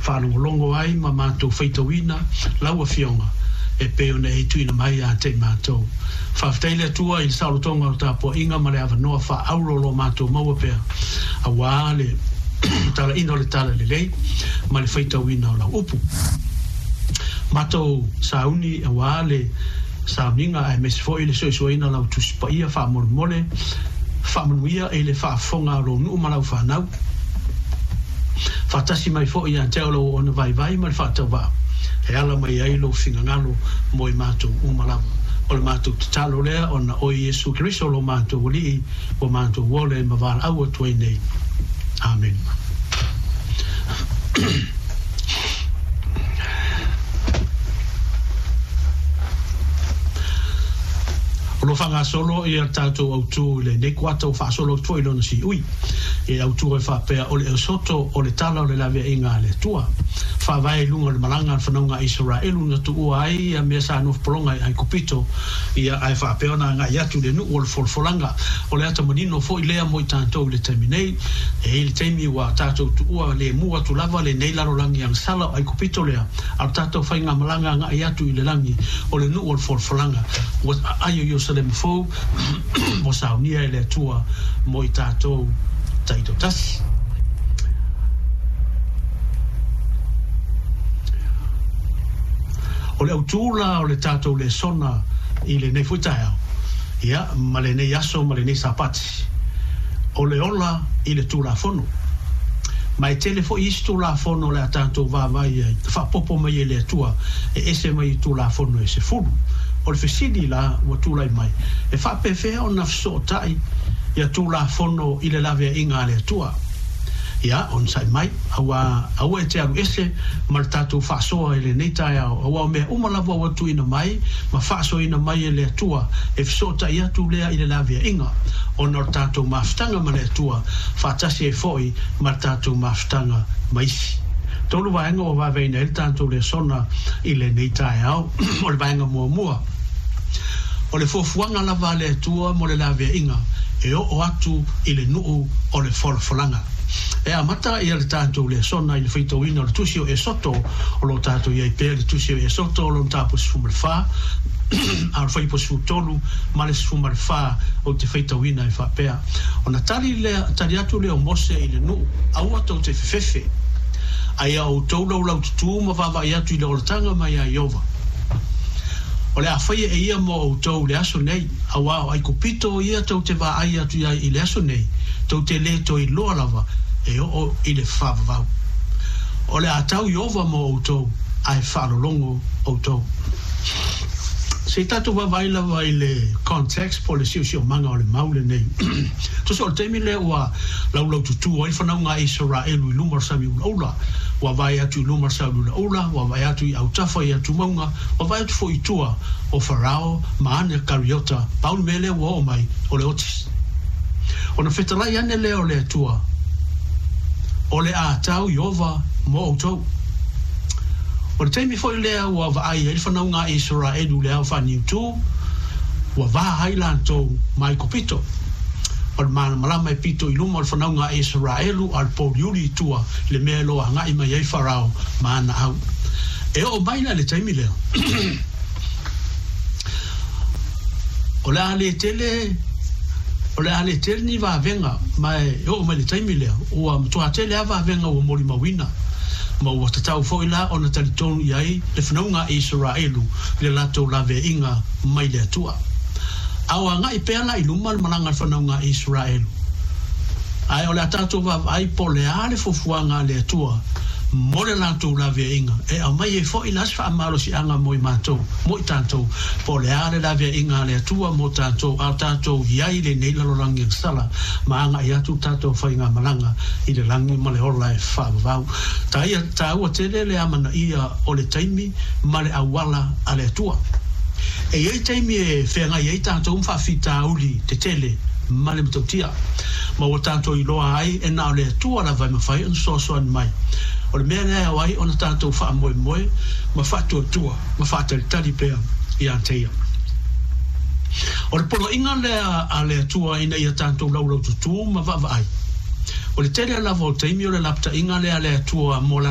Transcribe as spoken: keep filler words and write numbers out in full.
Faalogologo ai ma matou faitauina lau Afioga e pei ona e tuuina mai ia te i matou. Faafetai le Atua i le saolotoga o le tapuaiga ma le avanoa faaauro o lo o matou maua pea aua le talaina o le talalelei ma le faitauina o lau upu. Matou sauni aua le sauniga aemaise foi le soesoeina o lau Tusi Paia faamolemole faamanuia i le faafofoga a lou nuu ma lau fanau. Faatasi mai foi ia te au lou auauna vaivai ma le faatauvaa e ala mai ai lou finagalo mo i matou uma lava. O le matou tatalo lea ona o Iesu Keriso lo matou Alii ua matou ola ai ma valaau atu ai nei. Amene. O lo o faagasolo ia le tatou autu i lenei kuata ua faasolo atu foi i lona siui. E autu ai faapea o le Esoto o le tala o le laveaiga a le Atua. Faavae i luga o le malaga a le fanauga a Isaraelu na tuua ai ia mea sa nofopologa i Aikupito, ia ae faapea ona agai atu i le nuu o le folafolaga. O le ata manino foi lea mo i tatou i le taimi nei. E i ai le taimi ua tatou tuua lemu atu lava lenei lalolagi agasala o Aikupito lea, a o le tatou faigamalaga agai atu i le lagi o le nuu o le folafolaga ua aai o Ierusalema fou ua saunia e le Atua mo i tatou taitoatasi. O le autū la o le tatou lesona i lenei foi taeao, ia, ma lenei aso ma lenei Sapati, o le ola i le Tulafono. Ma e tele foi isi Tulafono o le a tatou vaavaai ai, faaopoopo mai e le Atua e ese mai i Tulafono e sefulu. O le fesili la ua tulai mai, e faapefea ona fesootai ia Tulafono i le laveaiga a le Atua? Ia, onosai mai, aua aua e te alu ese ma le tatou faasoa i lenei taeao, aua o mea uma lava ua tuuina mai ma faasoaina mai e le Atua, e fesootai atu lea i le laveaiga, ona o le tatou mafutaga ma le Atua, faatasi ai foi ma le tatou mafutaga ma isi. Tolu vaega ua vaevaeina ai le tatou lesona i lenei taeao. O le vaega muamua, o le fuafuaga lava a le Atua mo le laveaiga e oo atu i le nuu o le folafolaga. E amata ia le tatou lesona i le faitauina o le tusi o Esoto, o lo o tatou i ai pea le tusi o Esoto o lona mataupu sefulu ma le fa, a o le fuaiupu sefulu tolu ma le sefulu ma le fa ou te faitauina e faapea, Ona tali lea, tali atu lea o Mose i le nuu, Aua tou te fefefe, a ia outou laulaututū ma vaavaai atu i le olataga mai ia Ieova. O le a faia e ia mo outou i le aso nei, aua o Aikupito ia tou te vaai atu ai i le aso nei, tou te lē toe iloa lava e oo i le faavavau. O le a tau Ieova mo outou, ae faalologo outou. Se i tatou vaavaai lava i le context po o le siosiomaga o le mau lenei. Tusa o le taimi lea ua laulaututu ai le fanauga a Isaraelu i luma o le sami ulaula, ua vaai atu i luma o le sami ulaula, ua vaai atu i autafa i atumauga, ua vaai atu foi i tua o Farao ma ana kariota, pau le mea lea ua oo mai o le oti. Ona fetalai ane lea o le Atua, O le a tau Ieova mo outou. O le taimi foi lea ua vaai ai le fanauga a Isaraelu i le ao faaniutu, ua va ai latou ma Aikupito. O le malamalama e pito i luma o le fanauga a Isaraelu a o le pouliuli i tua i le mea e loa agai mai ai Farao ma ana au. E oo mai la i le taimi lea, o le a le tele, o le a le tele ni vavega, ma e oo mai le taimi lea, ua matua tele lava vavega ua molimauina, ma ua tatau foi la ona talitonu i ai le fanauga a Isaraelu i le latou laveaiga mai le Atua. A o agai pea la i luma le malaga a le fanauga a Isaraelu. Ae o le a tatou vaavaai po o le a le fuafuaga a le Atua mo le latou laveaiga, e aumai ai foi la se faamalosiaga mo i matou, mo i tatou, po o le a le laveaiga a le Atua mo tatou, a o tatou i ai i lenei lalolagi agasala, ma agai atu le tatou faigamalaga i le lagi ma le ola e faavavau. Taia, taua tele le amanaia o le taimi ma le auala a le Atua. E i ai taimi e feagai ai tatou ma faafitauli tetele ma le matautia, ma ua tatou iloa ai e na o le Atua lava e mafai ona fesoasoani mai. O le mea lea e ao ai ona tatou faamoemoe ma faatuatua ma faatalitali pea ia te Ia. O le poloaiga lea a le Atua ina ia tatou laulaututū ma vaavaai. O le tele lava o taimi o le lapataiga lea a le Atua mo Lana